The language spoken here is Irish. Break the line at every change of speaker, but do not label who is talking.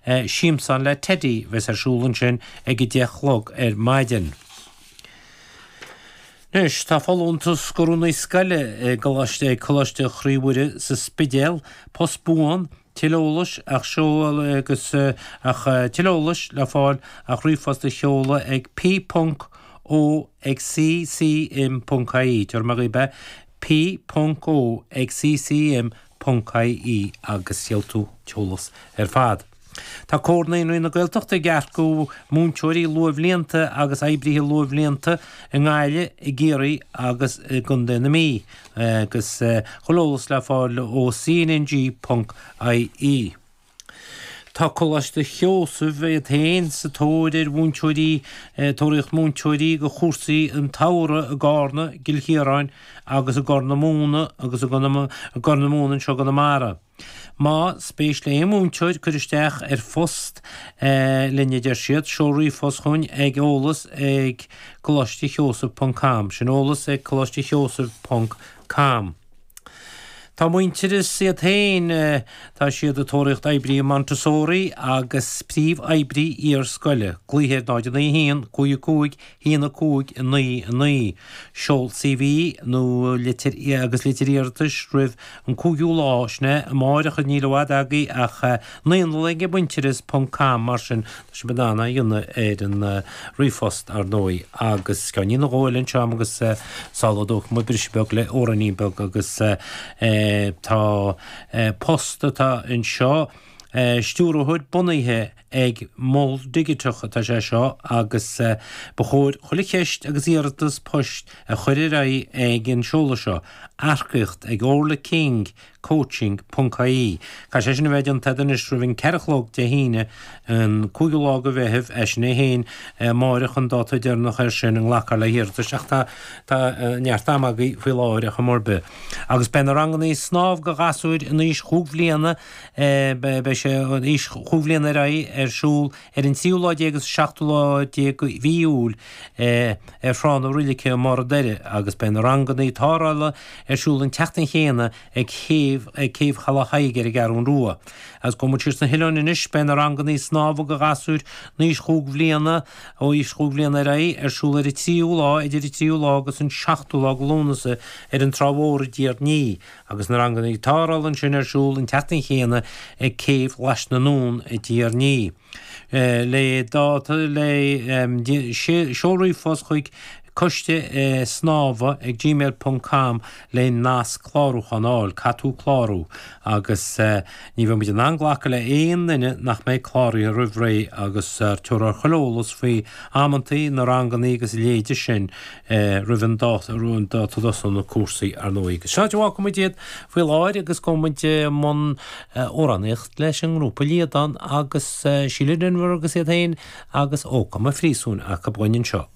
Siamsán le Teddy a bheas ar siúl ansin ag a 10 a chlog ar maidin. Anois, tá folúntas do rúnaí scoile i gColáiste ag Coláiste Chroí Mhuire sa Spidéal, post buan, tuilleadh eolais ach seol agus ach tuilleadh eolais le fáil ach ríomhphost a sheoladh ag p ponc o ag ccm ponc ie. Tabharfaidh mé dhaoib é, p ponc o ag ccm ponc ie agus gheobhaidh tú an t-eolas ar fad. Tá Comhar Naíonraí na Gaeltachta ag earcú múinteoirí luathbhlianta agus oibrithe luathbhlianta i nGaillimh, i gCiarraí agus i gContae na Mí agus chuile eolas le fáil ó cnng ponc ie. Tá Coláiste Sheosaimh iad féin sa tóir ar mhúinteoirí, tóraíocht múinteoirí do chúrsaí an tsamhraidh i gCarna, i gCill Chiaráin agus i gCorr na Móna agus i gCorr na Móna anseo i gConamara. Má spéis le aon mhúinteoir cur isteach ar phost linn a deir siad, seol ríomhphost chugainn ag eolas ag coláistesheosaimh ponc com. Sin eolas ag coláistesheosaimh ponc com. Tá Muintearas iad féin, tá siad ag tóraíocht oibrí Montessori agus príomh-oibrí iar-scoile. Glaoigh ar 0 9 1 5 5 1 5 9 9. Seol CV nó litir agus litir iarratais roimh an 5ú lá, sin é amáireach níl i bhfad agaibh ach naíolann ag muintearas ponc com mar sin tá sibh in ann é a dhéanamh ar an ríomhphost ar ndóigh agus ceainnín nó dhó eile anseo agam agus sula dtógfaidh muid briseadh beag le amhráinín beag agus tá post atá anseo, stiúrthóir bunaithe ag Mol Digiteach atá sé seo agus ba chóir chuile cheist agus iarratas poist a chur ar aghaidh ag an seoladh seo, earcaíocht ag Orla King coaching ponc ie. Caithfidh sé sin a bheith déanta agat anois roimh an ceathair a chlog Dé hAoine, an cúigiú lá de Mheitheamh, é sin é féin, amáireach an dáta deireanach air sin a nglacfar le hiarratais ach tá tá neart ama agaibh faoi láthair ar chuma ar bith. Agus beidh na rangannaí snámh do ghasúir in aois chúig bhliana, beidh sé in aois chúig bhliana ar aghaidh, ar siúl ar an tríú lá déag agus seachtú lá déag de mhí Iúil ar Thrá na Roilice i mBarr an Doire agus beidh na rangannaí tarrthála ar siúl an tseachtain chéanna ag céibh ag Céibh Chaladh Thaidhg ar an gCeathrún Rua. Agus gabhfaidh muid siar sna hoileáin anois, beidh na rangannaí snámha do ghasúir in aois chúig bhliana, ó aois chúig bhliana ar aghaidh, ar siúl ar an tríú lá, idir an tríú lá agus an seachtú lá de Lúnasa ar an Trá Mhór i dTír an Fhia agus na rangannaí tarrthála ansin ar siúl an tseachtain chéanna ag Céibh Ghlais na nDún i dTír an Fhia. Le dáta le seol ríomhphost chuig coiste snámha ag gmail ponc com le nasc clárúcháin a fháil. Caithfidh tú clárú agus ní bheidh muid in ann glacadh le aon duine nach mbeidh cláraithe roimh ré agus tabharfar chuile eolas faoi amantaí na rangannaí agus a leithéide sin roimh an dáta a dtosóidh na cúrsaí ar ndóigh. Agus seo áit a bhfágfaidh muid iad faoi láthair agus gabhfaidh muid i mbun amhránaíocht leis an ngrúpa Liadán agus Síle Denvir agus iad féin agus Ó Cá an Phríosúin acu dhúinn anseo.